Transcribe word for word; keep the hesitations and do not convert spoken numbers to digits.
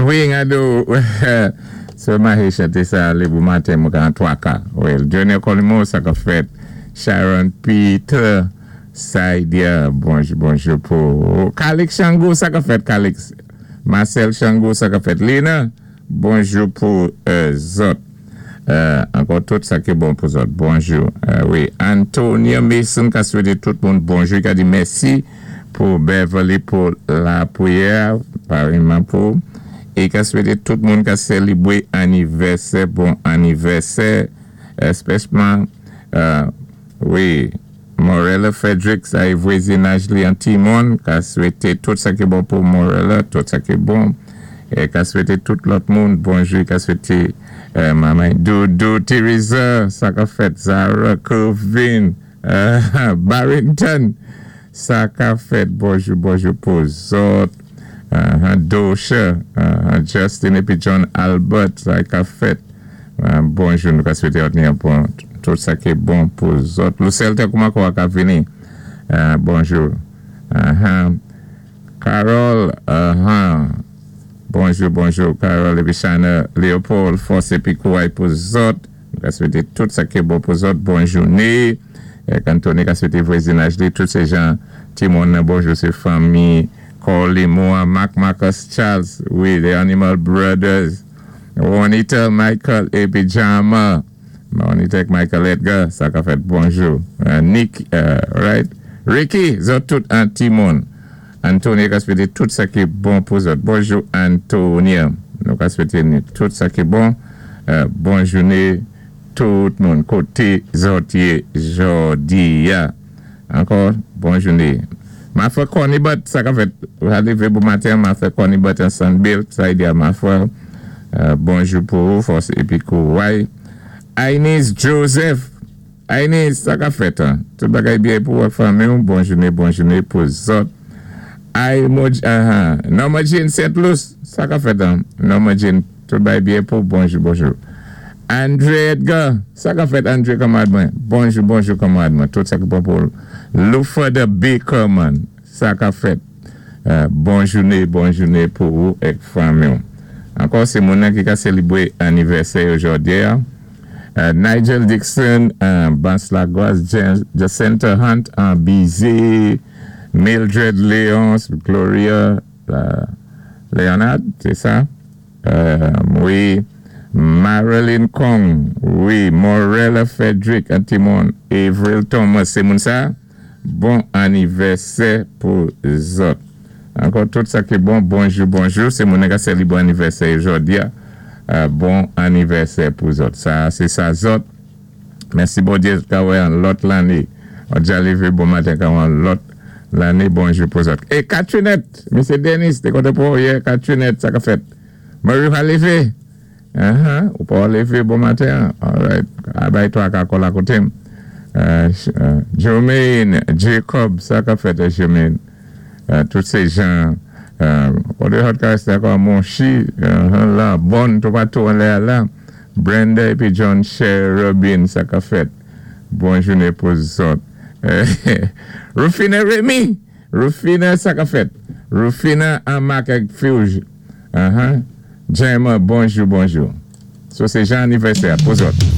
Wi, gado, sé Mahe chanté sa, lé bon maten, mwen an twaka. Wi, Johnny Colimo, sa ka fèt. Sharon Peter, Saidia, bonjou, bonjou pou Calix Shango, sa ka fèt, Calix. Marcel Shango, sa ka fèt. Lena, bonjou pou euh, zòt. Euh, ankò tout sa ki bon pou zòt. Bonjou. Euh, wi, Antonia Mason ka swété tout moun bonjou, ka di mèsi pou Beverly pou lapriyè, pareman pou. É ka swété tout moun ka sélibwé anivèsè, bon anivèsè, èspèsyalman, euh, wi, Morella Frederick, sa é vwazinaj li an Timon, ka swété tout sa ki bon pou Morella, tout sa ki bon, é ka swété tout lòt moun, bonjou, ka swété euh, manman Doudou, Teresa, sa ka fèt, Zara, Kelvin, euh, Barrington, sa ka fèt, bonjou, bonjou pou zòt, uh, Dosha, uh, Justin épi John Albert, sa ka fèt, uh, bonjou, nou ka swété bon, tout sa ki bon pou zòt. Lucelle kouman kwa ka vini? Uh, bonjou. Uh-huh. Carol, uh-huh. Bonjou, bonjou, Carol épi Shana, Léopold, fòs épi kouway pou zòt. Nou ka swété tout sa ki bon pou zòt. Bon jouné. Anthony ka swété vwazinaj li, tout sé jan Timon, bonjou, sé fanmi, Corley Moore, Mark Marcus Charles, wi, the Animal Brothers, Juanita, Michael, épi Jama, Juanita Michael Edgar, sa ka fèt bonjou. Uh, Nick, uh, right? Ricky, zòt tout an Timon. Antonia ka swété tout sa ki bon pou zòt. Bonjou, Antonia. Nou ka swété tout sa ki bon. Uh, bon jouné tout moun koté zòt yé jòdi a. Ankò, bon jouné. Ma frè Connie Butt, sa ka fèt, lévé bon maten, ma frè Connie Butt an Sunbuilt, sa y di a ma frè, euh, bonjou pou ou, fòs épi kouway. Aines Joseph, Aines, sa ka fèt, an. Tout bagay byen pou wak fanmi ou, bon jouné, bon jouné pou zòt. Ay, moj, uh, Norma Jean Saint Louis, sa ka fèt, an. Norma Jean, tout bagay byen pou, bonjou, bonjou. Andre Edgar, sa ka fèt Andre kanmarad mwen. Bonjou, bonjou kanmarad mwen. Tout sa ki bon pou Lufa the Baker man, sa ka fèt. Euh, bon jouné, bon jouné pou ou èk fanmi. Ankò, sé moun ki ka sélibwé anivèsè jòdi a. Euh, Nigel Dixon, euh, Bans Lagos, Jacinta Hunt, an Bizet, Mildred Léonce, Gloria Leonard, sé sa? Euh, wi. Marilyn Kong, wi, Morella Frederick, Antimon, Avril Thomas, sé moun sa? Bon anivèsè pou zòt. Ankò, tout sa ki bon, bonjou, bonjou, sé moun ki sélibwé anivèsè jòdi a. Euh, bon anivèsè pou zòt. Sa, sé sa zòt. Mèsi Bondyé, ka wè an lòt lanné. On dja lévé bon maten ka wè an lòt lanné, bonjou pou zòt. É Katrinette, Mesye Denis, té kontan pou yè, Katrinette, sa ka fèt. Marie va lévé. Uh-huh. Ou pa lévé bon maten. All right. Abay twa ka kòl akoté. Euh, euh, Jermaine Jacob, sa ka fèt, Jermaine. Euh, tout sé jan, euh, koté hot ka résté ankò Monchi, uh, la, bon, tout patou an lè la. Brenda épi John Cherubin, sa ka fèt. Bon jouné pou zòt. Rufina Remy, Rufina, sa ka fèt. Rufina an Mak Fuge. Uh-huh. Jema, bonjou, bonjou. So, sé jan anivèsè pou zòt.